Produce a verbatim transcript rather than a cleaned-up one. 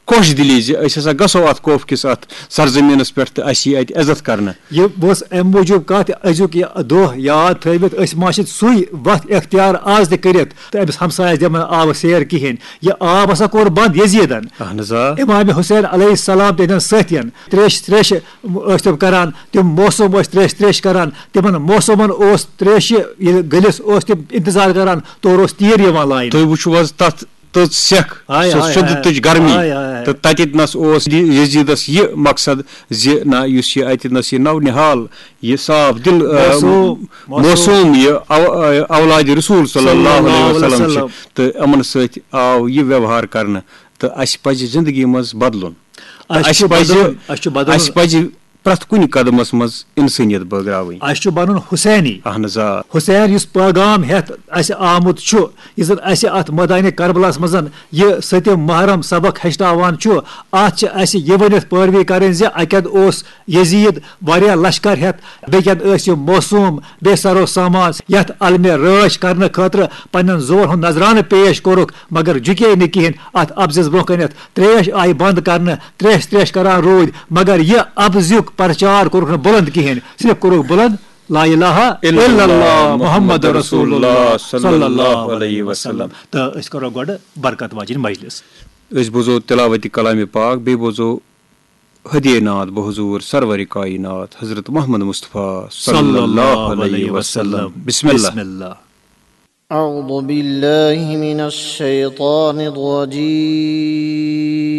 خۄش دِلی زِ أسۍ ہسا گژھو اتھ کوفہٕ کِس اتھ سرزمینس پٮ۪ٹھ تہٕ اسہِ یی اتہِ عزت کرنہٕ۔ یہِ اوس امہِ موٗجوٗب کتھ، أزیُک یہِ دۄہ یاد تھٲوِتھ، أسۍ ما چھِ سُے وتھ اختیار آز تہِ کٔرِتھ تہٕ أمِس ہمسایس دِمو نہٕ آبہٕ سیر کِہیٖنۍ؟ یہِ آب ہسا کوٚر بنٛد یزیدن۔ اہن حظ آ۔ امام حسین علیہ السلام تہنٛدٮ۪ن سٲتھین تریش تریش ٲسۍ تِم کران، تِم موسم ٲسۍ تریش تریش کران، تِمن موسمن اوس تریشہِ ییٚلہِ گٔلِس اوس تِم انتظار کران، تورٕ اوس تیٖر یِوان لاینہٕ۔ تُہۍ وٕچھِو حظ تتھ تٔژ سٮ۪کھ، ہاے، سۄ ہاے، سیوٚد ہاے، تٔج گرمی۔ ہاے، ہاے، ہاے۔ تہٕ تتٮ۪تھ نس اوس یہِ یزیدس یہِ مقصد زِ نہ، یُس یہِ اتٮ۪تھ نس یہِ نو نہال، یہِ صاف دل، آ، موسوم، موسوم۔ موسوم، یہِ او-، آ، اولاد رسول صلی اللہ علیہ وسلم چھِ، تہٕ یِمن سۭتۍ آو یہِ ویوہار کرنہٕ۔ تہٕ اسہِ پزِ زندگی منٛز بدلُن۔ تہٕ اسہِ اسہِ چھُ پزِ، بدلُن، اسہِ چھُ بدلُن۔ اسہِ پزِ پرٛٮ۪تھ کُنہِ قدمس منٛز انسٲنیت بٲگراوٕنۍ۔ اسہِ چھُ بنُن حسینی۔ اہن حظ آ۔ حسین یُس پیغام ہٮ۪تھ اسہِ آمُت چھُ، یُس زن اسہِ اتھ مٲدانِ کربلاہس منٛز یہِ ستِم محرم سبق ہیٚچھناوان چھُ، اتھ چھِ اسہِ یہِ ؤنِتھ پٲروی کرٕنۍ زِ اکہِ اندٕ اوس یزید واریاہ لشکر ہٮ۪تھ، بیٚکہِ اندٕ ٲسۍ یِم موسوم بے سر و سامان یتھ علمِ رٲچھ کرنہٕ خٲطرٕ پننٮ۪ن زُوَن ہُنٛد نذرانہٕ پیش کوٚرُکھ، مگر جُکے نہٕ کِہیٖنۍ۔ اتھ اپزِس برونٛہہ کنٮ۪تھ تریش آیہِ بنٛد کرنہٕ، تریش تریش کران روٗدۍ، مگر یہِ اپزیُک پرچار کوٚرُکھ نہٕ بُلند کِہیٖنۍ، صرف کوٚرُکھ بُلند لا الہ الا اللہ محمد رسول اللہ صلی اللہ علیہ وسلم۔ تہٕ أسۍ کرو گۄڈٕ برکت واجِنۍ مجلس۔ أسۍ بوزو تلاوت کلام پاک، بیٚیہِ بوزو ہدیہ نعت بحضور سرور کائنات حضرت محمد مصطفیٰ صلی اللہ علیہ وسلم۔ بسم اللہ۔ بسم اللہ۔ أعوذ بالله من الشيطان الرجيم.